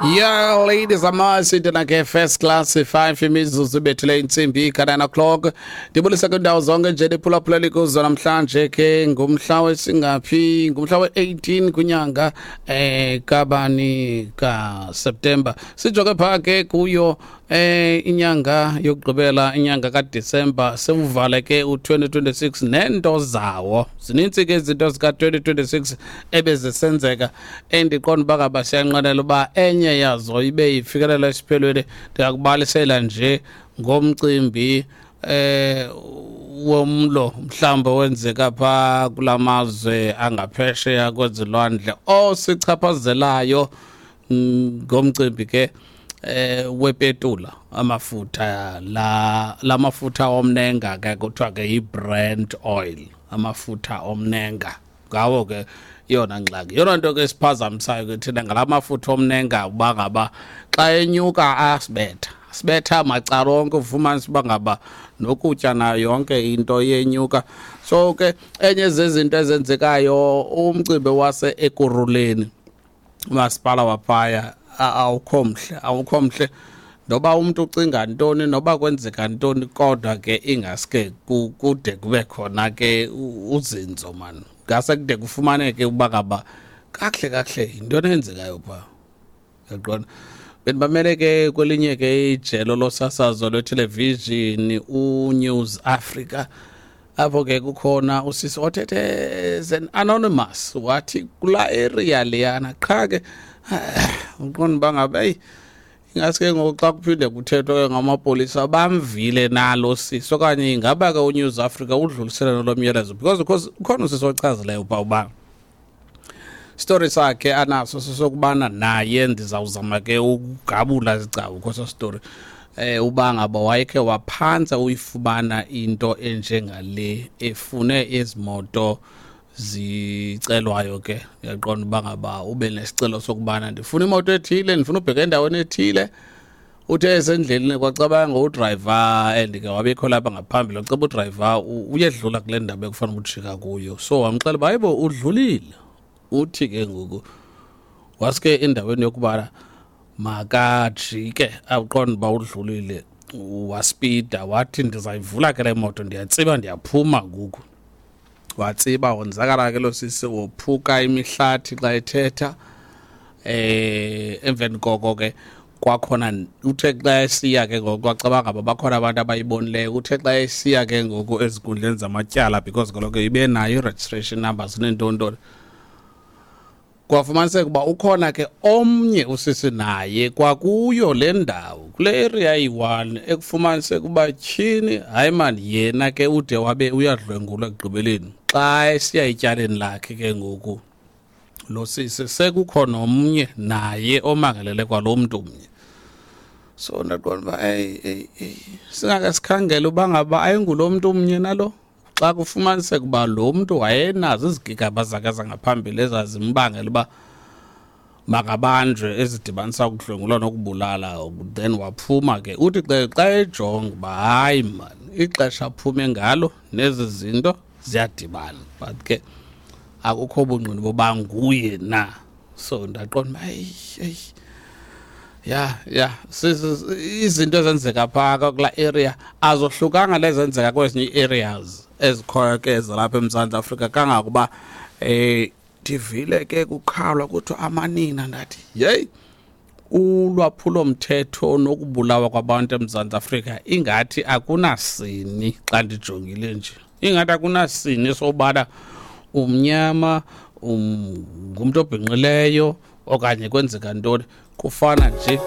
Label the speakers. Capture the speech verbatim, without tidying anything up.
Speaker 1: Yeah, ladies, amasithina ke first class five imizuzu ibethile intsimbi ka-nine o'clock. Ndibulisa kwiindawo zonke nje liphulaphuleli kuzo namhlanje ke ngumhla wesingaphi? Ngumhla we-eighteen kwinyanga eh kabani? KaSeptemba. Sijoke phaa ke kuyo eh inyanga yokugqibela, inyanga kaDisemba. Sewuvale ke u-twenty twenty-six neento zawo. Zinintsi ke izinto zika-twenty twenty-six ebezisenzeka endiqonda uba ngaba siyanqwenela uba enye yazo ibe ifikelela esiphelweni. Ndingakubalisela nje ngomcimbi eh womlo mhlawumbe wenzeka phaa kulamazwe angaphesheya kwezilwandle osichaphazelayo, ngomcimbi ke eh wepetula, amafutha la lamafutha omnenga ke kuthiwa ke yi-Brent oil, amafutha omnenga. Ngawo ke yona ngxaki, yona nto ke siphazamisayo ke thina ngala mafutha omnenga, uba ngaba xa enyuka asibetha sibetha macala onke, ufumanisa uba ngaba nokutya nayo yonke into iyenyuka. So ke enye zezinto ezenzekayo, umcimbi wase Ekurhuleni, umasipala waphaya awukho mhle, awukho mhle. Noba umntu ucinga ntoni, noba kwenzeka ntoni, kodwa ke ingaske kude kube khona ke uzinzo mani, ngase kude kufumaneke uba ngaba kakuhle kakuhle yintoni eyenzekayo phaa, uyaqonda. Bendibamele ke kwelinye ke ijelo losasazo lwethelevishini, uNews Africa, apho ke kukhona usisi othethe as an anonymous, wathi kulaa area leyana qha ke uqonda uba ngaba eyi, ingaske ngoku xa kuphinde kuthethwa ke ngamapolisa bamvile nalo sisi, okanye ingaba ke uNews Africa udlulisele nolo myalezo, because because ukhona usisi ochazileyo uba uba story sakhe anaso sesokubana naye, ndizawuzama ke ukugabula izigcawu kweso story, eh uba ngaba wayekhe waphantsa uyifumana into enjengale, efune izimoto zicelwayo ke, uyaqonda uba ngaba ube nesicelo sokubana ndifuna imoto ethile, ndifuna ubheka endaweni ethile. Uthe esendleleni kwacabanga udrayiva and ke wabekho lapha ngaphambili, waceba udrayiva uyedlula kule ndawo ekufanele ujika kuyo, so wamxela uba hayibo, udlulile. Uthi ke ngoku waske endaweni yokuba makajike awuqonda uba udlulile, waspida, wathi ndizayivula ke le moto, ndiyatsiba, ndiyaphuma ngoku. Watsiba, wonzakala ke lo sisi, wophuka imihlathi xa ethetha. eh emveni koko ke kwakhona uthe xa esiya ke ngoku kwacabanga ngaba bakhona abantu abayibonileyo. Uthe xa esiya ke ngoku ezinkundleni zamatyala, because kaloku ibe nayo i-registration numbers neentontoni, kwafumaniseka uba ukhona ke omnye usisi naye kwakuyo le ndawo, kule area iyi-one, ekufumaniseka uba tyhini, hayi mani, yena ke ude wabe uyadlwengulwa ekugqibeleni xa esiya etyaleni lakhe. Ke ngoku lo sisi sekukho nomnye naye omangalele kwalo mntu mnye. So ndaqonda uba eyi eyi eyi, singake sikhangele uba ngaba ayingulo mntu mnye nalo, xa kufumaniseka uba lo mntu wayenazo izigigaba zakhe zangaphambili ezazimbangela uba makabanjwe, ezidibanisa ukudlwengulwa nokubulala, then waphuma ke. Uthi xa xa ejonga uba hayi mani, ixesha aphume ngalo nezi zinto ziyadibana, but ke akukho bungqina boba nguye na. So ndaqonda uba eyi eyi, ya ya, izinto ezenzeka phaa kulaa area azohlukanga lezenzeka kwezinye ii-areas ezikhoyo ke zalapha eMzantsi Afrika, kangakuba eh ndivile ke kukhalwa kuthiwa amanina. Ndathi yeyi, ulwaphulomthetho nokubulawa kwabantu eMzantsi Afrika ingathi akunasini. Xa ndijongile nje ingathi akunasini sobana umnyama, um, ngumntu obhinqileyo okanye kwenzeka ntoni, kufana nje.